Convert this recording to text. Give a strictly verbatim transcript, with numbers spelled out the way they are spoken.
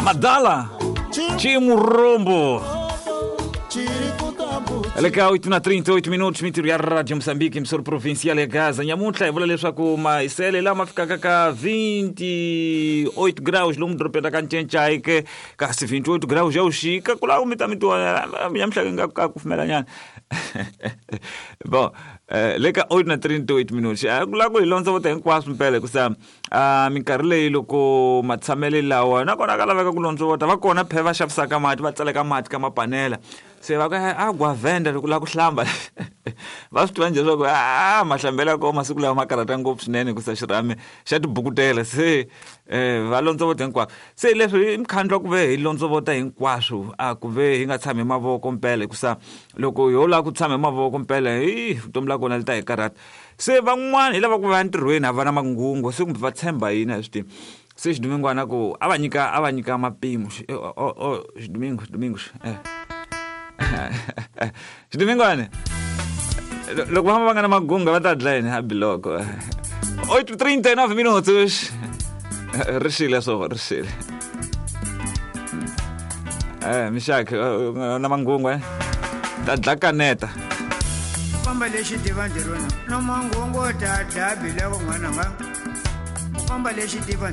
Madala Chimurombo. Le ka oito na trinta e oito minutos, mintirho ya Radio Moçambique, emissora provincial ya Gaza. Nyamuntlha hi vula leswaku mahiselo lama fikaka ka vinte e oito graus lomu dorobeni ra ka Ncencai ke, kasi vinte e oito graus ya wuxika ku lava mi ta mi tiwa nyamuntlha nga ka kufumela nyana. Bon, eh, le ka oito na trinta e oito minutos, a ku lava ku hi londzovota hinkwaswo mpela, hikusa uh, minkarhi leyi loko matshamelo lawa nakona ka laveka ku londzovota. Va kona phe va xavisaka mati, va tsaleka mati ka mapanela, se va ku a gwavenda loko lava ku hlamba. Va swi tiva njhe leswaku a mahlambelo ya kona masiku lawa ma karhata ngopfu swinene, hikusa xirhami xa tibukutela. Se um va londzovota hinkwaswo. Se leswi i mukhandlu wa ku ve hi londzovota hinkwaswo, a ku ve hi nga tshami hi mavoko mpela, hikusa loko ho lava ku tshama hi mavoko mpela, hi vutomi la kona li ta hi karhata. Se van'wani hi lava ku va entirhweni, a va na mangungu, se kumbe va tshemba yini, a hi swi tivi. Se xidumingwana ku a va nyika a va nyika mapimo. Xidumingo, xidumingo, eh xidumingwane, loko va famba va nga na magunga va ta dlaya yini a biloko. oito e trinta e nove minutos, ri xile swo ri xile. Eh mixak na mangungu, eh ta dla kaneta. Famba lexi tiva ntirhweni na mangungu, ta dlaya biloko n'wananga. Famba lexi tiva.